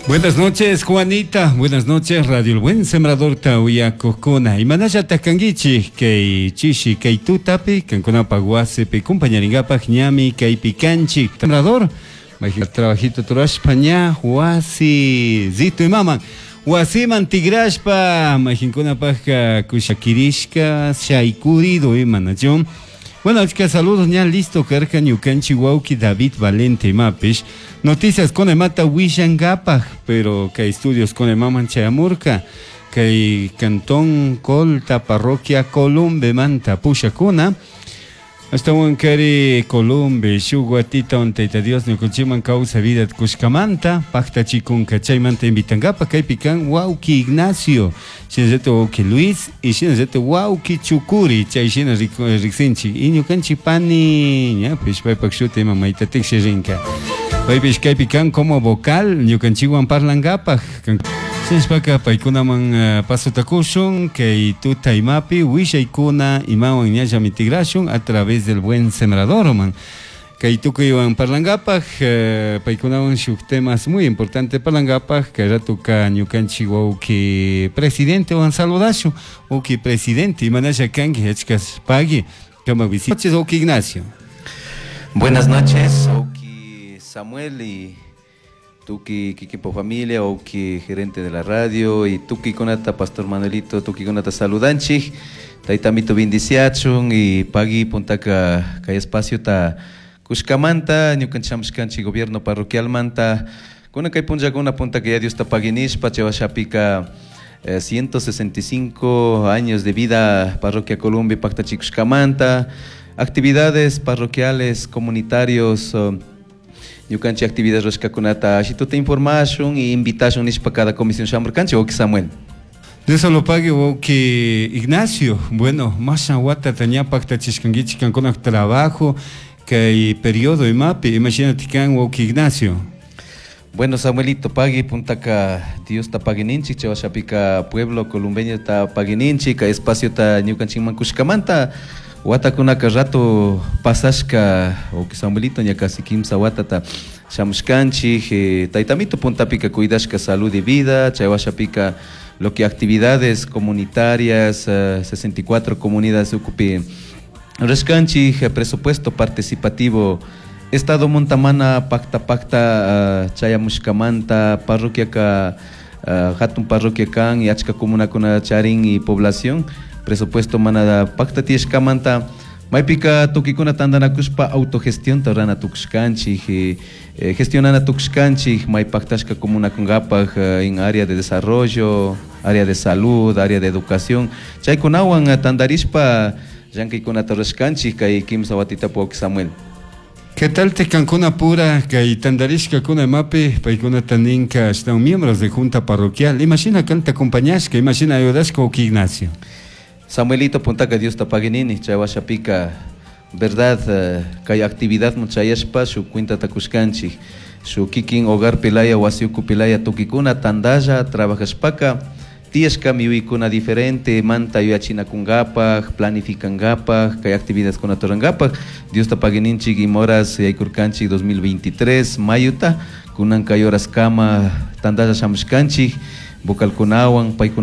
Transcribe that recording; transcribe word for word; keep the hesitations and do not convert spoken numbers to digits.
Buenas noches, Juanita. Buenas noches, Radio El Buen Sembrador Tauyakukuna. Imanalla kankichik kay chishi kay tutapi kankunapaq wasipi kumpañaringapaq ñami kaypi kanchik. Sembrador, trabajito turashpa ña wasi zito imaman. Wasiman tigrashpa mayqinkunapaqqa kushakirishka shaykurido imanachu. Bueno, achka saludos ña listo karka ñukanchik wawki David Valente imapish. Noticias con imata wishankapaq, pero kay estudios con imaman chayamurka. Kay cantón Colta, parroquia Columbe manta pushakuna. Ashtawan kari Columbe, shuk watita Tayta Dios ñukanchikman kawsay vida kushkamanta paktachikunka chaymanta invitankapaq kaypi kan wawki Ignacio, shinallata wawki Luis y shinallata wawki Chukuri chay shina riksinchik y ñukanchik pani ñapish paypak shuti ima mayta tikshirinka paypish kaypi kan como vocal ñukanchikwan parlankapaq. Shinashpaka paykunaman uh, pasota kushun kay tuta imapi willaykuna imawan ñallami tigrashun a través del Buen Sembrador man. Kay tukuywan parlankapaq uh, paykunawan shuk temas muy importante parlankapaq kay ratuka ñukanchik wawki presidente wan saludashun wawki presidente imanalla kanki achkas pagui kamak visita. Noches, wawki Ignacio. Buenas noches, wawki Samuel y tuki kikinpo familia, wawki gerente de la radio y tuki kunata Pastor Manuelito, tuki kunata saludanchik, taytamito bendiciachun y pagui puntaka kay espacio ta kushkamanta, ñukanchik shamushkanchik gobierno parroquialmanta, kunan kay punllakuna puntaka ya Dios ta paguinishpa chaywashapika eh, ciento sesenta y cinco años de vida parroquia Columbe paktachikushkamanta, actividades parroquiales, comunitarios, uh, ñukanchik actividades rurashkakunata ashituta informashun y invitashun nishpa cada comisión shamurkanchik, wawki Samuel. De eso lo pague wawki Ignacio. Bueno, masha watata ña paktachishkankichik kankunak trabajo kay periodo imapi, imagínate kan wawki Ignacio. Bueno, Samuelito, pagui puntaka Dios ta paguininchik, chaywashapika pueblo columbeño ta paguininchik, kay espacio ta ñukanchikman kushkamanta, watakunaka rato pasashka, wawki Samuelito, ña casi kimsa watata shamushkanchik, eh, taytamito puntapika cuidashka salud y vida, chaywashapika lo que actividades comunitarias, eh, sesenta y cuatro comunidades ukupi rurashkanchik, eh, presupuesto participativo Estado Montamana pacta pacta, uh, chayamushkamanta parroquia ka, uh, hatun parroquia kan y achka comunakuna charin y población presupuesto mana pacta tiyashkamanta maypika tukikuna tantanakushpa autogestión rana tukushkanchik, eh, eh, gestionana tukushkanchik may pactashka comunakunkapaj, eh, en área de desarrollo, área de salud, área de educación chaykunawan tantarishpa llankaykunata rurashkanchik kay kimsa watitapu wawki Samuel. ¿Qué tal te cancuna pura kay tantarishka kuna imapi paykunata ninka ashtawan miembros de junta parroquial? Imagina kan te acompañashka, imagina ayudashka wawki Ignacio. Samuelito puntaka Dios ta paguinini chaywashapika verdad, eh, kay actividad muchayashpa shuk cuenta takushkanchik shuk kikin hogar pilaya wasi uku pilaya tukikuna tandalla trabajashpaka tiyashkami yuyaykuna diferente manta yuyachinakunkapaj planificankapaj kay actividad kuna turankapaj Dios ta paguininchik imoras yaykurkanchik dos mil veintitrés mayuta kunan kay horas kama tandalla shamushkanchik vocalkunawan paykuna